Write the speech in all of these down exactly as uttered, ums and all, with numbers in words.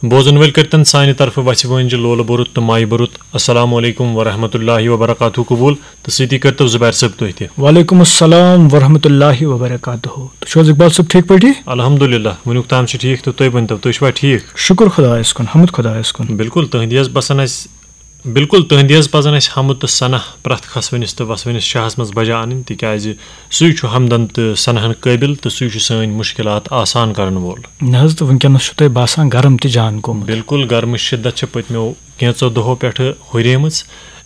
بوزن وٲلۍ کٔرتن سانہِ طرفہٕ وژھِ وٲنجہِ لولہٕ بوٚرُت تہٕ مایہِ بوٚرُت السلام علیکم ورحمۃ اللہ وبرکاتہ قبول، تہٕ سۭتی کٔرتو زبیر صٲب تُہۍ تہِ۔ وعلیکم السلام ورحمۃ اللہ وبرکاتہ۔ تُہۍ چھِو حظ اقبال صٲب ٹھیٖک پٲٹھی؟ الحمدللہ، وٕنیُک تام چھِ ٹھیٖک، تہٕ تُہۍ ؤنتو، تُہۍ چھِوا ٹھیٖک؟ شُکُر خۄدایَس کُن، حمد خۄدایَس کُن۔ بِلکُل تُہٕنٛدِ حظ پَسنٛد اَسہِ بِلکُل تُہٕنٛدِ حظ پَزَن اَسہِ حمد تہٕ ثنا پرٛٮ۪تھ کھسوٕنِس تہٕ وسوٕنِس شاہَس منٛز بجا اَنٕنۍ، تِکیٛازِ سُے چھُ حمدَن تہٕ ثناہَن قٲبِل تہٕ سُے چھُ سٲنۍ مُشکِلات آسان کَرَن وول۔ نہ حظ، تہٕ وٕنکیٚنَس چھُ تۄہہِ باسان گرم تہِ جان گوٚمُت۔ بِلکُل، گرمٕچ شِدت چھِ پٔتمیو کینٛژو دۄہو پٮ۪ٹھٕ ہُریمٕژ،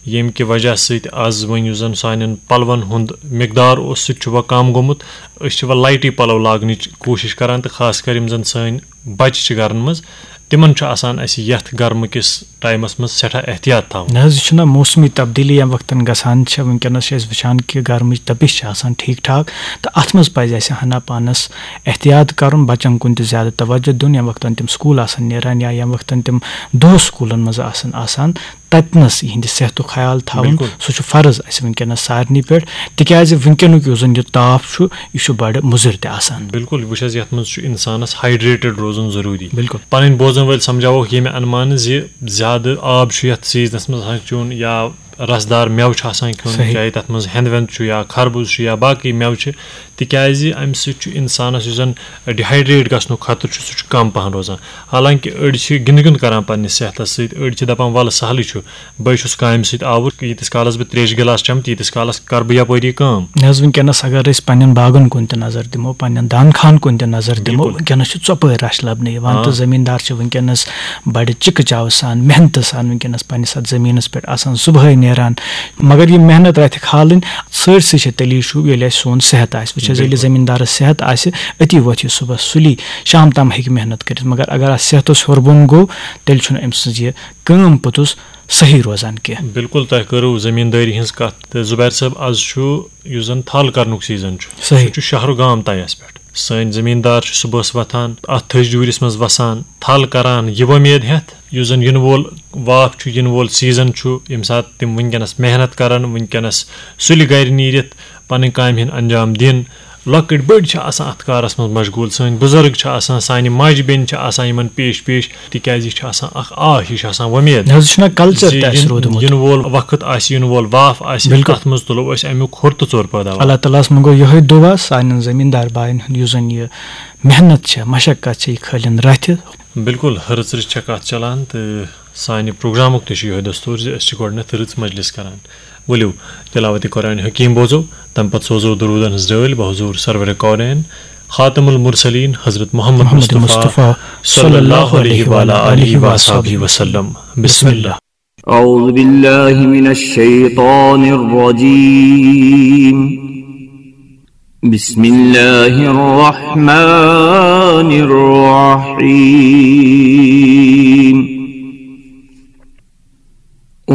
ییٚمہِ کہِ وجہ سۭتۍ آز وۄنۍ یُس زَن سانٮ۪ن پَلوَن ہُنٛد مقدار اوس، سُہ تہِ چھُ وۄنۍ کَم گوٚمُت۔ أسۍ چھِ وۄنۍ لایٹٕے پَلو لاگنٕچ کوٗشِش کَران، تہٕ خاص کر یِم زَن سٲنۍ بَچہِ چھِ گَرَن منٛز، تِمَن چھُ آسان اَسہِ یَتھ گرمہٕ کِس ٹایمَس منٛز سٮ۪ٹھاہ احتیاط تھاوُن۔ نہ حظ، یہِ چھُنہ موسمی تبدیٖلی ییٚمہِ وقتَن گژھان چھِ، وٕنکیٚنَس چھِ أسۍ وٕچھان کہِ گرمٕچ تپِش چھِ آسان ٹھیٖک ٹھاک، تہٕ اَتھ منٛز پَزِ اَسہِ ہنا پانَس احتیاط کَرُن، بَچَن کُن تہِ زیادٕ توجہ دیُن، ییٚمہِ وقتَن تِم سکوٗل آسَن نیران یا ییٚمہِ وقتَن تِم دۄہ سکوٗلَن منٛز آسَن آسان، تَتِنَس یِہِنٛدِ صحتُک خیال تھاوُن۔ بِلکُل۔ سُہ چھُ فرض اَسہِ وٕنکیٚنَس سارنٕے پٮ۪ٹھ، تِکیٛازِ وٕنکیٚنُک یُس زَن یہِ تاپھ چھُ، یہِ چھُ بَڑٕ مُضِر تہِ آسان۔ بِلکُل، وٕچھ حظ، یَتھ منٛز چھُ اِنسانَس ہایڈریٹڈ روزُن ضروٗری۔ بِلکُل۔ پَنٕنۍ بوزَن وٲلۍ سَمجھاووکھ ییٚمہِ اَنمانہٕ زِ زیادٕ آب چھُ یَتھ سیٖزنَس منٛز آسان چیوٚن، یا رسدار مٮ۪وٕ چھُ آسان کھیوٚن، صحیح۔ چاہے تَتھ منٛز ہٮ۪نٛد وٮ۪نٛد چھُ یا خربوز چھُ یا باقٕے مٮ۪وٕ چھِ، تِکیٛازِ اَمہِ سۭتۍ چھُ اِنسانَس یُس زَن ڈِہایڈریٹ گژھنُک خطرٕ چھُ، سُہ چھُ کَم پَہَن روزان۔ حالانکہِ أڑۍ چھِ گِنٛدٕ گِنٛدٕ کَران پنٛنِس صحتَس سۭتۍ، أڑۍ چھِ دَپان وَلہٕ سہلٕے چھُ، بہٕ چھُس کامہِ سۭتۍ آوُر، ییٖتِس کالَس بہٕ ترٛیشہِ گِلاس چٮ۪مہٕ، تیٖتِس کالَس کَرٕ بہٕ یَپٲری کٲم۔ نہ حظ، وٕنکیٚنَس اگر أسۍ پنٛنٮ۪ن باغَن کُن تہِ نظر دِمو، پنٛنٮ۪ن دانہٕ خانہٕ کُن تہِ نظر دِمو، بِلکُل۔ وٕنکیٚنَس چھُ ژۄپٲرۍ رَش لَبنہٕ یِوان، آ۔ تہٕ زٔمیٖندار چھِ وٕنکیٚنَس بَڑٕ چِکہٕ چاوٕ سان، محنتہٕ سان وٕنکیٚنَس پنٛنِس اَتھ زٔمیٖنَس پٮ۪ٹھ آسان، صُبحٲے نیران۔ مگر یہِ محنت رَتھِ کھالٕنۍ سٲرسٕے چھِ تیٚلی شوٗب، ییٚلہِ اَسہِ سون صحت آسہِ۔ وٕچھ حظ، ییٚلہِ بِلکُل۔ زٔمیٖندارَس صحت آسہِ، أتی وۄتھِ یہِ صُبحَس سُلی، شام تام ہیٚکہِ محنت کٔرِتھ۔ مگر اگر اَتھ صحتَس ہیوٚر بۄن گوٚو، تیٚلہِ چھُنہٕ أمۍ سٕنٛز یہِ کٲم پوٚتُس صحیح روزان کینٛہہ۔ بِلکُل، تۄہہِ کٔرٕو زٔمیٖندٲری ہٕنٛز کَتھ۔ تہٕ زُبیر صٲب، آز چھُ یُس زَن تھل کَرنُک سیٖزن چھُ، صحیح۔ سُہ چھُ شہر و گام طیَس پٮ۪ٹھ۔ سٲنۍ زٔمیٖندار چھِ صُبحَس وۄتھان، اَتھ تھٔج ڈوٗرِس منٛز وَسان، تھل کَران، یہِ وۄمید ہٮ۪تھ یُس زَن یِنہٕ وول واپھ چھُ، یِنہٕ وول سیٖزن چھُ، ییٚمہِ ساتہٕ تِم وٕنکیٚنَس محنت کَرَن، وٕنکیٚنَس سُلہِ گَرِ نیٖرِتھ پَنٕنۍ کامہِ ہِنٛدۍ انجام دِن۔ لۄکٕٹۍ بٔڑۍ چھِ آسان اَتھ کارَس منٛز مشغوٗل، سٲنۍ بُزرگ چھِ آسان، سانہِ ماجہِ بیٚنہِ چھِ آسان یِمَن پیش پیش، تِکیٛازِ یہِ چھِ آسان اَکھ آش، یہِ چھِ آسان وۄمید نہ حظ، یہِ چھُنہ کلچر زِ تہِ اَسہِ یِن-، روٗدمُت۔ یِنہٕ وول وقت آسہِ، یِنہٕ وول واپھ آسہِ، بِلکُل۔ تَتھ منٛز تُلو أسۍ اَمیُک کھوٚر تہٕ ژوٚر پٲداوار۔ اللہ تعالیٰ ہَس منٛگو یِہوٚے دُعا سانٮ۪ن زٔمیٖندار بایَن ہُنٛد، یُس زَن یہِ محنت چھےٚ، مشقت چھےٚ، یہِ کھٲلِن رَتھِ۔ بِلکُل، رٕژ رٕژ چھےٚ کَتھ چَلان تہٕ سانہِ پروگرامُک تہِ چھُ یِہوٚے دستوٗر زِ أسۍ چھِ گۄڈٕنٮ۪تھ رٕژ مجلس کَران۔ ؤلِو، تلاوت قرآن حکیم بوزو، تَمہِ پتہٕ سوزو درودن ہٕنٛز رٲلۍ بحضور سرور کونین خاتم المرسلین حضرت محمد محمد مصطفیٰ مصطفیٰ صلی اللہ علیہ وعلی آلہ وصحبہ وسلم۔ بسم اللہ۔ أعوذ بالله من الشيطان الرجيم. بسم الله الرحمن الرحيم.